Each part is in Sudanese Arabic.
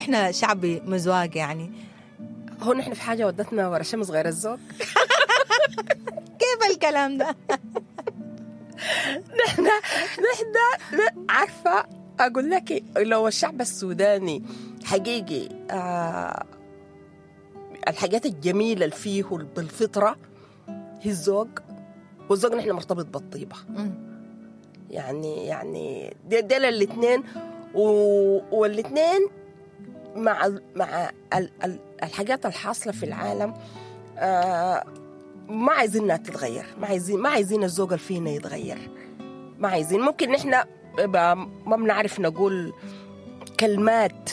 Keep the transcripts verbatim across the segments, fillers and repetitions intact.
نحن شعب مزواق يعني؟ هو نحن في حاجة ودتنا ورا شمس غير الذوق. كيف الكلام ده؟ نحن نحن عارفة أقول لك، لو الشعب السوداني حقيقي آه الحاجات الجميلة اللي فيه بالفطرة هي الذوق، والذوق نحن مرتبط بالطيبة. يعني يعني ديل الاثنين، والاثنين مع مع ال ال الحاجات الحاصلة في العالم آه ما عايزينها تتغير، ما عايزين ما عايزين الذوق اللي فينا يتغير، ما عايزين. ممكن نحن ما بنعرف نقول كلمات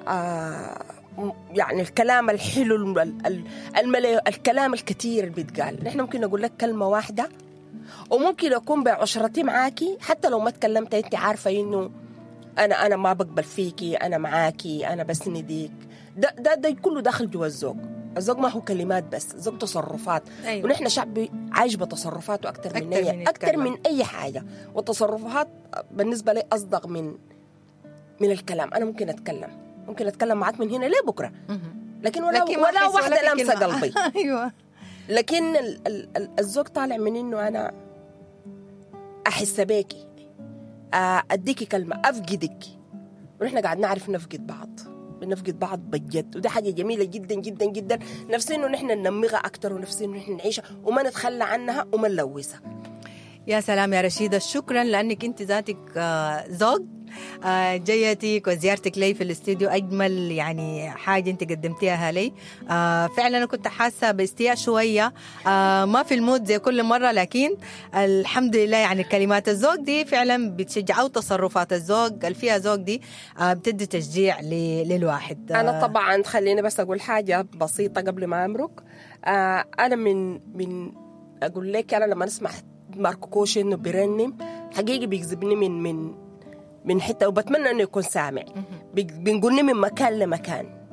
آه يعني الكلام الحلو الملي، الكلام الكثير اللي بيتقال، نحن ممكن نقول لك كلمة واحدة، وممكن أكون بعشرتي معاكي حتى لو ما تكلمت أنت عارفة إنه أنا أنا ما بقبل فيكي، أنا معاكي، أنا بسندك. ده ده ده كله داخل جوا الذوق. الذوق ما هو كلمات بس، الذوق تصرفات. أيوة. ونحن شعب عايش بتصرفاته أكتر من أي من أكتر من أي حاجة، والتصرفات بالنسبة لي أصدق من من الكلام. أنا ممكن أتكلم، ممكن أتكلم معاك من هنا لبكرة، لكن ولا لكن ولا واحدة لمسة قلبي. أيوة. لكن ال ال الذوق طالع من إنه أنا أحس بيكي، أديكي كلمة، أفقدك. ونحن قاعد نعرف نفقد بعض، بنفقد بعض بجد، وده حاجة جميلة جدا جدا جدا. نفسي إنه نحن ننميها أكتر، ونفسي إنه نحن نعيشها وما نتخلى عنها وما نلوثها. يا سلام يا رشيدة، شكرا لأنك أنت ذاتك ذوق. جيتك وزيارتك لي في الاستوديو أجمل يعني حاجة أنت قدمتيها لي. فعلا أنا كنت حاسة باستياء شوية، ما في ال mood زي كل مرة، لكن الحمد لله يعني كلمات الذوق دي فعلا بتشجع، أو تصرفات الذوق اللي فيها ذوق دي بتدي تشجيع للواحد. أنا طبعا خليني بس أقول حاجة بسيطة قبل ما أمرك. أنا من من أقول لك، أنا لما نسمع ماركو كوشي إنه بيرنم حقيقي بيجذبني من من من حتة، وبتمنى إنه يكون سامع. بنقولني من مكان لمكان،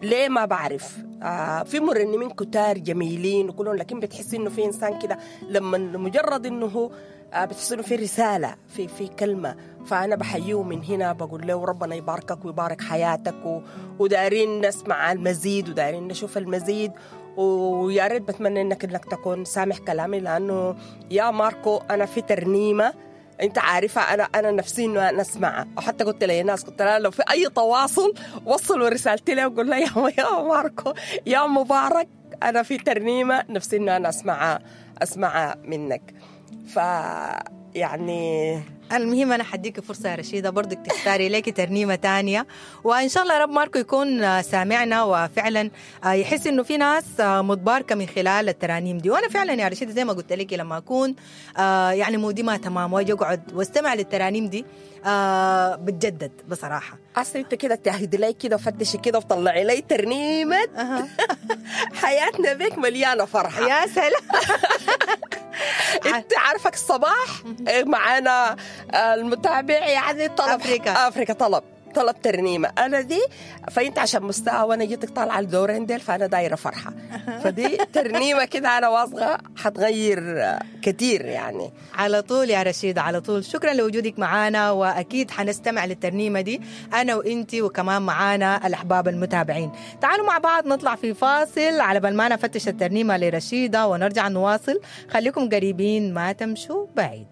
ليه ما بعرف. آه في مرنمين كتار جميلين وكلهم، لكن بتحس إنه في إنسان كده لما مجرد إنه هو آه بتحس إنه في رسالة، في في كلمة. فأنا بحييه من هنا، بقول له ربنا يباركك ويبارك حياتك، و ودارين نسمع المزيد ودارين نشوف المزيد، ويا ريت بتمنى إنك إنك تكون سامح كلامي، لأنه يا ماركو أنا في ترنيمة انت عارفه انا انا نفسي انه انا اسمعها، وحتى قلت للناس قلت لها لو في اي تواصل وصلوا رسالتي له وقول لها يا يا ماركو يا مبارك انا في ترنيمة نفسي انه انا اسمعها اسمعها منك. ف يعني المهم أنا حديك فرصة يا رشيدة برضك تختاري لك ترنيمة تانية، وإن شاء الله يا رب ماركو يكون سامعنا وفعلا يحس إنه في ناس متباركة من خلال الترانيم دي. وأنا فعلا يا رشيدة زي ما قلت لك لما أكون يعني مودي ما تمام وأجي أقعد واستمع للترانيم دي بتجدد بصراحة. أصل أنت كده تهدي لي كده وفتشي كده وطلعي لي ترنيمة حياتنا بك مليانة فرحة. يا سلام. انت عارفك الصباح معانا المتابع يعني طلب أفريكا. أفريكا طلب طلب ترنيمة أنا دي، فأنت عشان مستوى وأنا جيتك طالعة الدورين ديل، فأنا دايرة فرحة، فدي ترنيمة كده أنا واثقة حتغير كتير يعني. على طول يا رشيدة، على طول. شكرا لوجودك معانا، وأكيد حنستمع للترنيمة دي أنا وإنتي وكمان معانا الأحباب المتابعين. تعالوا مع بعض نطلع في فاصل على بال ما نفتش الترنيمة لرشيدة ونرجع نواصل. خليكم قريبين ما تمشوا بعيد.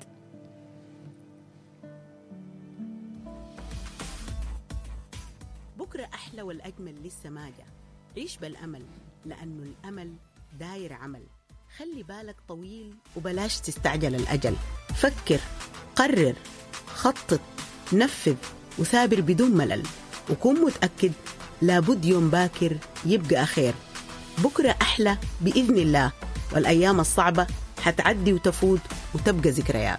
بكرة أحلى والأجمل لسه ما جا. عيش بالأمل، لأنه الأمل داير عمل. خلي بالك طويل وبلاش تستعجل الأجل. فكر، قرر، خطط، نفذ، وثابر بدون ملل، وكون متأكد لابد يوم باكر يبقى خير. بكرة أحلى بإذن الله، والأيام الصعبة حتعدي وتفوت وتبقى ذكريات.